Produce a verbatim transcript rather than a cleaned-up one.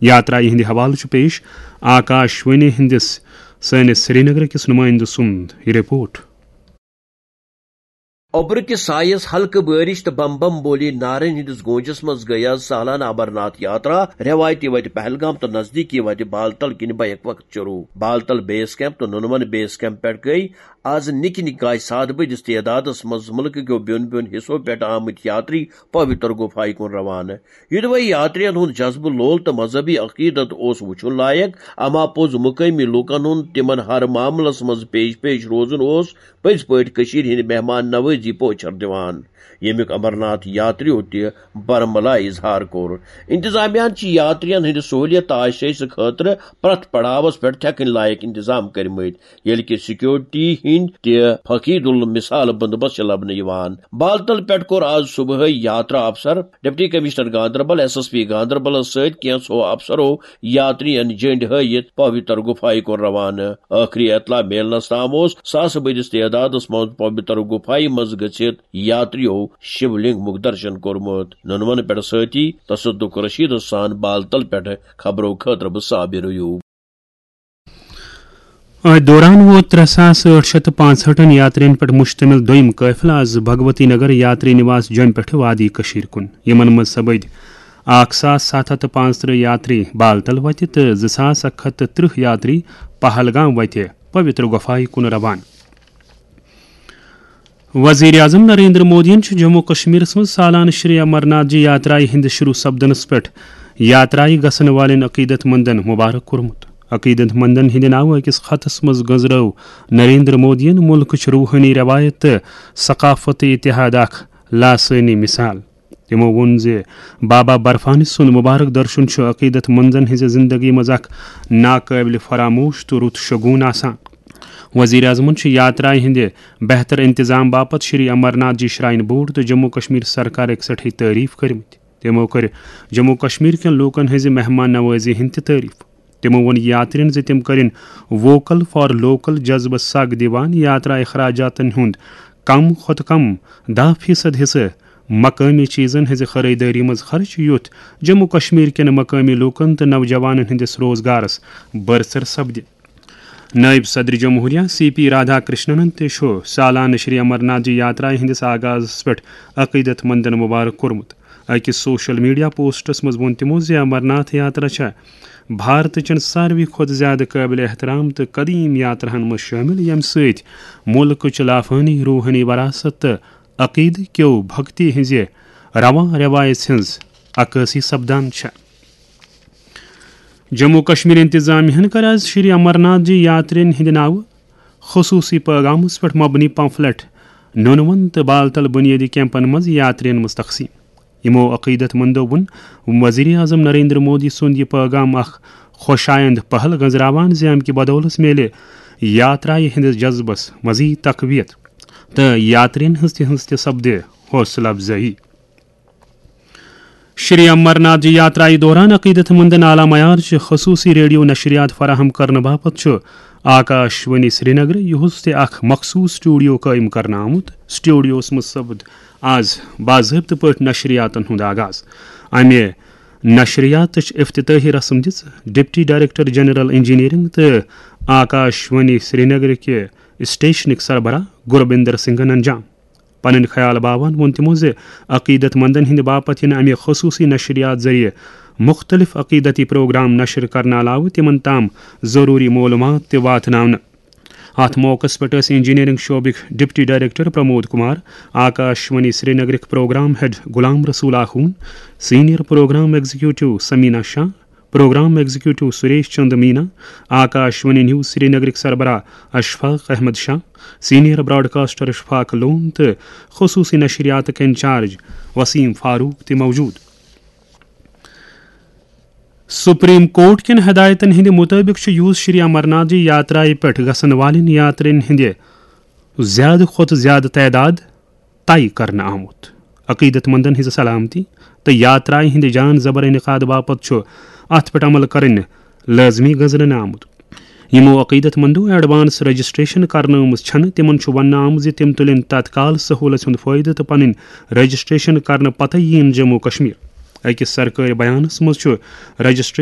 یاترایہِ ہٕنٛدِ حوالہٕ چھُ پیش آکاش وانی ہٕنٛدِس سٲنِس سرینگر کِس نُمٲیندٕ سُنٛد یہِ رپورٹ۔ اوٚبرٕ کِس سایَس ہلکہٕ بٲرِش تہٕ بم بم بولی نارن ہٕنٛدِس گونجس منٛز گٔیہِ آز سالانہٕ امرناتھ یاترا رٮ۪وایتی وتہِ پہلگام تہٕ نزدیٖکی وتہِ بالتل کِنۍ بیک وقت شروٗع۔ بالتل بیس کیمپ تہٕ نُنون بیس کیمپ پٮ۪ٹھ گٔیہِ آز نِکہِ نِکہِ کاے سادٕ بٔدِس تعدادس منٛز مُلکہٕ کیو بیوٚن بیوٚن حصو پٮ۪ٹھ آمٕتۍ یاتری پویتر گُفایہِ کُن روانہٕ۔ یِدوے یاترین ہُنٛد جذبہٕ لول تہٕ مذہبی عقیدت اوس وُچھُن لایق، اما پوٚز مقٲمی لوٗکن ہُنٛد تِمن ہر معاملس منٛز پیش پیش روزُن اوس پٔزۍ پٲٹھۍ کٔشیٖرِ ہٕنٛدِ مہمان نوٲزی پوچھر دِوان، ییٚمیُک امرناتھ یاتریو تہِ برملا اظہار کوٚر۔ انتظامیہن چھِ یاترین ہٕنٛدِ سہوٗلیت تہٕ آشٲیشہِ خٲطرٕ پرٛٮ۪تھ پڑاوس پٮ۪ٹھ تھٮ۪کٕنۍ لایق انتظام کٔرمٕتۍ، ییٚلہِ کہِ سیکورٹی ہٕنٛدۍ تہِ فقید المثال بندوبست چھِ لبنہٕ یِوان۔ بالتل پٮ۪ٹھ کوٚر آز صبحٲے یاترا افسر، deputy commissioner Ganderbal, S S P گاندربلس سۭتۍ کینٛژھو افسرو یاترین جنڈ ہٲوِتھ پویتر گُفایہِ کُن روانہٕ۔ ٲخری اطلاع میلنس تام اوس ساسہٕ بٔدِس تعدادس منٛز پویتر گُفایہِ منٛز گٔژھِتھ یاتریو شِولنگ مُک درشن کوٚرمُت۔ نُنون پٮ۪ٹھ سۭتی تصدق رشیدس سان بالتل پٮ۪ٹھ خبرو خٲطرٕ بہٕ صابر ایوب۔ أتھۍ دوران ووت ترٛےٚ ساس ٲٹھ شیٚتھ تہٕ پانٛژہٲٹھن یاترین پٮ۪ٹھ مشتمل دوٚیِم قٲفلہٕ آز بھگوتی نگر یاتری نواس جوٚمہِ پٮ۪ٹھٕ وادی کٔشیٖر کُن۔ یِمن منٛز سپٕدۍ اکھ ساس ستھ ہتھ تہٕ پانٛژترٕہ یاتری بالتل وتہِ تہٕ زٕ ساس اکھ ہتھ تہٕ ترٕٛہ یاتری پہلگام وتہِ پویتر گۄپھایہِ کُن روانہٕ۔ وزیر اعظم نریندر مودیَن چھُ جموں کشمیرس منٛز سالانہٕ شری امرناتھ جی یاترایہِ ہٕنٛدِ شروع سپدنس پٮ۪ٹھ یاترایہِ گژھن والٮ۪ن عقیدت مندن مبارک کوٚرمُت۔ عقیدت مندن ہٕنٛدِ ناوٕ أکِس خطس منٛز گٔنزرٲو نریندر مودیَن مُلکٕچ روحٲنی رٮ۪وایت تہٕ ثقافتی اتحاد اکھ لاسٲنی مثال۔ تِمو ووٚن زِ بابا برفانی سُنٛد مبارک درشن چھُ عقیدت مندن ہٕنٛزِ زندگی منٛز اکھ ناقٲبلِ فراموش تہٕ رُت شگون آسان۔ وزیر اعظمَن چھُ یاترایہِ ہٕنٛدِ بہتر انتظام باپتھ شری امرناتھ جی شراین بورڈ تہٕ جموں کشمیر سرکارٕکۍ سٮ۪ٹھٕے تعریف کٔرمٕتۍ۔ تِمو کٔر جموں کشمیر کٮ۪ن لوٗکن ہٕنٛزِ مہمان نوازی ہٕنٛدۍ تہِ تعریف۔ تِمو ووٚن یاترین زِ تِم کٔرِن ووکل فار لوکل جذبس سگ دِوان یاترا اخراجاتن ہُنٛد کم کھۄتہٕ کم دَہ فیصد حصہٕ مقٲمی چیزن ہٕنٛزِ خریدٲری منٛز خرچ، یُتھ جموں کشمیر کٮ۪ن مقٲمی لوٗکن تہٕ نوجوانن ہٕنٛدِس روزگارس بٲرژر سپدِ۔ نائب صدر جمہوریہ سی پی رادھا کرشننن تہِ چھُ سالانہٕ شری امرناتھ جی یاترایہِ ہٕنٛدِس آغازس پٮ۪ٹھ عقیدت مندن مبارک کوٚرمُت۔ أکِس سوشل میڈیا پوسٹس منٛز ووٚن تِمو زِ امرناتھ یاترا چھےٚ بھارتٕچن ساروی کھۄتہٕ زیادٕ قٲبلِ احترام تہٕ قدیم یاتراہن منٛز شٲمِل، ییٚمہِ سۭتۍ مُلکٕچ لافٲنی روحٲنی وراثت تہٕ عقیدٕ کیو بھکتی ہٕنٛزِ رواں رٮ۪وایژ ہٕنٛز عکٲسی سپدان چھےٚ۔ جموں کشمیر انتظامیہ ہن کٔر آز شری امرناتھ جی یاترین ہٕنٛدِ ناوٕ خصوصی پٲغامس پٮ۪ٹھ مبنی پمفلٹ نونون تہٕ بالتل بنیٲدی کیمپن منٛز یاترین منٛز تقسیم۔ یِمو عقیدت مندو ووٚن وزیر اعظم نریندر مودی سُنٛد یہِ پٲغام اکھ خۄش آیند پہل گنزراوان زِ امہِ کہِ بدولس میلہِ یاترایہِ ہٕنٛدِس جذبس مزید تقویت تہٕ یاترین ہٕنٛز تہِ ہٕنٛز تہِ سپدِ حوصلہٕ افزٲیی۔ شری امرناتھ جی یاترایہِ دوران عقیدت مندن اعلیٰ معیار چہِ خصوصی ریڈیو نشریات فراہم کرنہٕ باپتھ چھُ آکاش وانی سرینگر یُہُس تہِ اکھ مخصوص سٹوڈیو قٲیِم کرنہٕ آمُت۔ سٹوڈیوس منٛز سپد آز باضٲبطہٕ پٲٹھۍ نشریاتن ہُنٛد آغاز۔ امہِ نشریاتٕچ افتتاحی رسم دِژ ڈپٹی ڈائریکٹر جنرل انجینئرنگ تہٕ آکاش وانی سرینگر کہِ اسٹیشنٕکۍ سربراہ گربندر سنگھن انجام۔ پنٕنۍ خیال باوان ووٚن تِمو زِ عقیدت مندن ہٕنٛدِ باپتھ یِنہٕ امہِ خصوصی نشریات ذٔریعہٕ مُختٔلِف عقیدتی پروگرام نشر کرنہٕ علاوٕ تِمن تام ضروٗری معلوٗمات تہِ واتناونہٕ۔ اتھ موقعس پٮ۪ٹھ ٲسۍ انجینئرنگ شعبٕکۍ ڈپٹی ڈائریکٹر پرمود کمار، آکاش وانی سرینگرٕکۍ programme head Ghulam Rasool Akhoon, senior programme executive Samina Shah, programme executive Suresh Chand Meena, Akash Vani news سرینگرٕکۍ سربراہ اشفاق احمد شاہ، سینئر براڈکاسٹر اشفاق لون تہٕ خصوصی نشریاتٕکۍ انچارج وسیم فاروق تہِ موجود۔ سپریم کورٹ کٮ۪ن ہدایتن ہٕنٛدِ مُطٲبِق چھُ یوٗز شری امرناتھ جی یاترایہِ پٮ۪ٹھ گژھن والٮ۪ن یاترین ہٕنٛدِ زیادٕ کھۄتہٕ زیادٕ تعداد طے کرنہٕ آمُت۔ عقیدت مندن ہٕنٛز سلامتی تہٕ یاترایہِ ہٕنٛدِ جان زبر انعقاد باپتھ چھُ اتھ پٮ۪ٹھ عمل کرٕنۍ لٲزمی گنزرنہٕ آمُت۔ یِمو عقیدت مندو ایڈوانس رجسٹریشن کرنٲومٕژ چھنہٕ، تِمن چھُ وننہٕ آمُت زِ تِم تُلن تتکال سہولژ ہُنٛد فٲیدٕ تہٕ پنٕنۍ رجسٹریشن کرنہٕ پتہٕ یِن جموں کشمیر۔ أکِس سرکٲرۍ بیانس منٛز چھُ رجسٹریشن